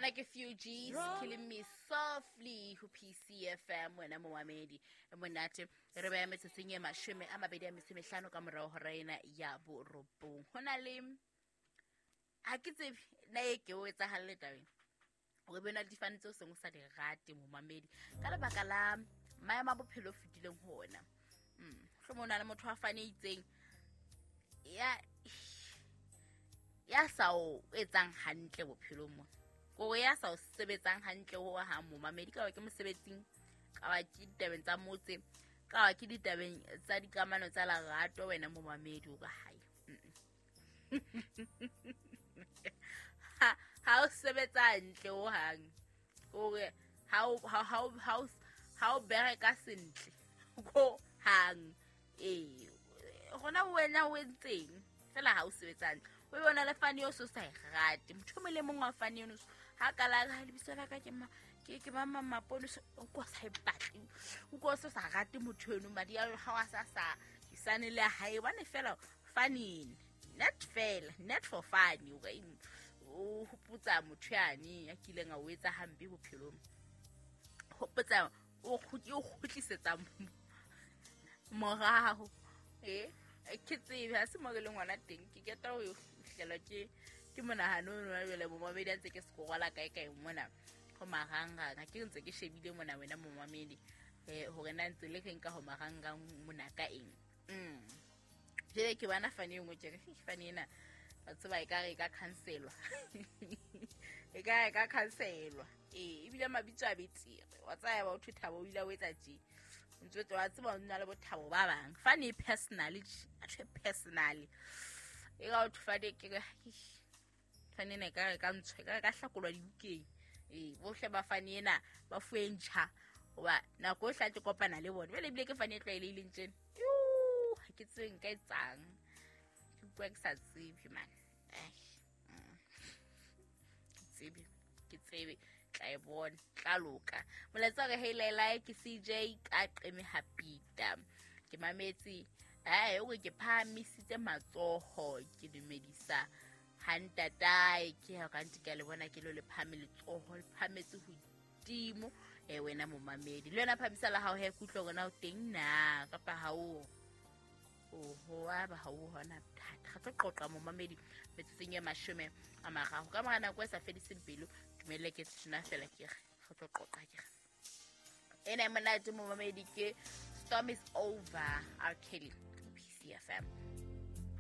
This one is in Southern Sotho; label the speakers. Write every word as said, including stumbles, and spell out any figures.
Speaker 1: Ena ke Fugees Killing Me Softly ho P C F M wena momamedi monate re beya metsotsong e mashome a mabedi a metso e mehlano ka morao hora ena ya borobong. Ho na le ha ke tsebe na e ke o etsahalle tabeng hore be na le difane tseo seng o sa di rate momamedi ka lebaka la maemo a bophelo fetileng ho ona. Mm hlomong na le motho a fane itseng ya ya sa o etsang hantle bophelong mo. Ko ya sa o sebetsang hantle ho ha momamedi ka ba ke mosebetsing, ka ba ke ditabeng tsa motse, ka ba ke ditabeng tsa dikamano tsa lerato wena momamedi o ka hae. Ha ha o sebetsa hantle ho hang. Hore ha o ha ha ha ha o bereka sentle ko hang. Eh hona wena o entseng fela ha o sebetsa hantle. O bona le fane yo so sa e rate. Motho mo le mong wa fane eno ha kala ha lebitso la ka ke ma ke ke mama Mapone o kwa sa e batle. O kwa so sa rate motho eno madi a ha wa sa sa isane le hae bane fela fane net fela net for fun o o hopotsa motho yane ya kileng a o etsa hampe bophelong. Hopotsa o kgutli o kgutlisetsa morao. Eh ke tsebe ha se mo re le ngwana teng ke keta ho fihlela ke ke monahano ono wa jwale momamedi a ntse ke sekorola kae kae mona ho marangrang ha ke ntse ke shebile mona wena momamedi eh hore na ntse le reng ka ho marangrang mona ka eng. Mm jele ke bana fane engwe ke re fane ena ba tseba e ka re ka cancelwa e ka e ka cancelwa eh ebile mabitso a betere wa tsaya ba o thabo o ile o etsa tje ntse wa tseba o nna le bothabo ba bang fane personally a tshwe personally e ga o thufade ke fane ne ka ka ntshwe ka ka hlakolwa dibukeng eh bohle ba fane ena ba fuentjha hoba nako e hla ke kopana le bona jwale ebile ke fane e tlwaelehileng tjena ha ke tsebe nka etsang ke bua ke sa tsebe man ai ke tsebe ke tsebe tla e bona tla loka molaetsa re heilelai ke C J ka qeme hapita ke mametse ai o ke phahamisitse matsoho ke dumedisa ha ntatae ke ha ka ntse ke le bona ke lo le phahame letsoho le phahametse hodimo eh wena momamedi le wena phamisa la hao he kutlwa gona o teng na kapa ha o oho a ba ha o hona thata re tlo qoqa momamedi metsotsong e mashome a mararo ka mora nako e sa fediseng pelo dumelle ke tshina fela ke re re tlo qoqa ke re ena monate momamedi ke Storm Is Over R Kelly P C F M.